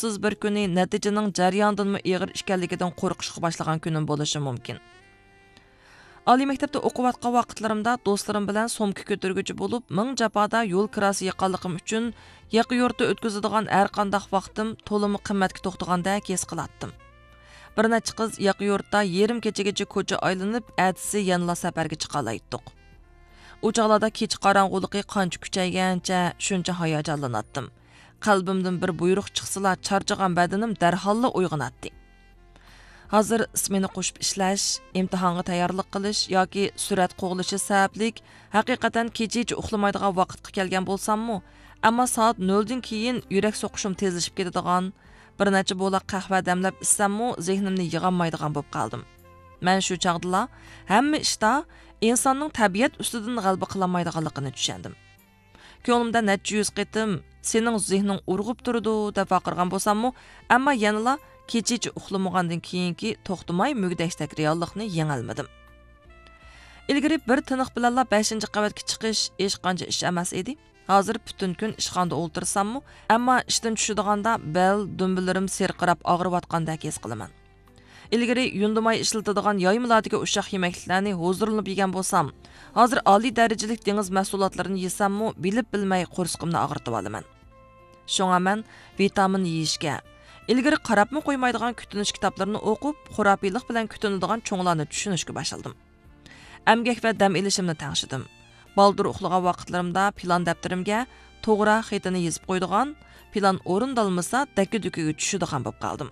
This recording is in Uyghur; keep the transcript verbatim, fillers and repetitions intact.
بەختسىز بىر كۈنى نەتىجىنىڭ جەريانىدىنمۇ ئېغىر ئىكەنلىكىدىن قورقۇشقا باشلىغان كۈنۈم بولۇشى مۇمكىن. ئالىي مەكتەپتە ئوقۇۋاتقان ۋاقىتلىرىمدا دوستلىرىم بىلەن سومكا كۆتۈرگۈچى بولۇپ، مىڭ جاپادا يول كىراسى يىغقانلىقىم ئۈچۈن، ياقا يۇرتتا ئۆتكۈزىدىغان ھەرقانداق ۋاقتىم تولىمۇ قىممەتكە توختىغاندەك ھېس قىلاتتىم. بىر نەچچە قىز ياقا يۇرتتا يېرىم كېچىگىچە كوچا ئايلىنىپ، ئەتىسى يەنىلا سەپەرگە چىقالايتتۇق. ئۇ چاغلاردا كېچە قاراڭغۇلۇقى قانچە كۈچەيگەنچە، شۇنچە ھاياجانلىناتتىم. قەلبىمدىن بىر بۇيرۇق چىقسىلا، چارچىغان بەدىنىم دەرھاللا ئويغىناتتى. ھازىر سمېنا قوشۇپ ئىشلەش، ئىمتىھانغا تەييارلىق قىلىش ياكى سۈرەت قوغلىشى سەۋەبلىك، ھەقىقەتەن كېچىچە ئۇخلىمايدىغان ۋاقىتقا كەلگەن بولساممۇ، ئەمما سائەت نۆلدىن كېيىن يۈرەك سوقۇشۇم تېزلىشىپ كېتىدىغان، بىر نەچچە بولاق قەھۋە دەملەپ ئىچسەممۇ، زېھنىمنى يىغالمايدىغان بولۇپ قالدىم. مەن شۇ چاغدىلا ھەممە ئىشتا ئىنساننىڭ تەبىئەت ئۈستىدىن غەلىبە قىلالمايدىغانلىقىنى چۈشەندىم. كۆڭلۈمدە نەچچە يۈز قېتىم، «سېنىڭ زېھنىڭ ئۇرغۇپ تۇرىدۇ» دەپ ۋارقىرىغان بولساممۇ، ئەمما يەنىلا كېچىچە ئۇخلىمىغاندىن كېيىنكى توختىماي مۈگدەكتەك رېئاللىقنى يېڭەلمىدىم. ئىلگىرى بىر تىنىق بىلەنلا بەشىنچى قەۋەتكە چىقىش ھېچقانچە ئىش ئەمەس ئىدى. ھازىر پۈتۈن كۈن ئىشخانىدا ئولتۇرساممۇ، ئەمما ئىشتىن چۈشىدىغاندا بەل، دۈمبىلىرىم سىرقىراپ ئاغرىۋاتقاندەك ھېس قىلىمەن. ئىلگىرى يۇندىماي ئىشلىتىدىغان يايمىلاردىكى ئۇششاق يېمەكلىكلەرنى ھۇزۇرلىنىپ يېگەن بولسام، ھازىر ئالىي دەرىجىلىك دېڭىز مەھسۇلاتلىرىنى يېسەممۇ، بىلىپ بىلمەي قورسىقىمنى ئاغرىتىۋالىمەن. شۇڭا مەن ۋىتامىن يېيىشكە، ئىلگىرى قاراپمۇ قويمايدىغان كۈتۈنۈش كىتابلىرىنى ئوقۇپ، خۇراپىيلىق بىلەن كۈتۈنىدىغان چوڭلارنى چۈشىنىشكە باشلىدىم. ئەمگەك ۋە دەم ئېلىشىمنى تەڭشىدىم. بالدۇر ئۇخلىغان ۋاقىتلىرىمدا پىلان دەپتىرىمگە توغرا خېتىنى يېزىپ قويىدىغان، پىلان ئورۇندالمىسا دەككە-دۈككىگە چۈشىدىغان بولۇپ قالدىم.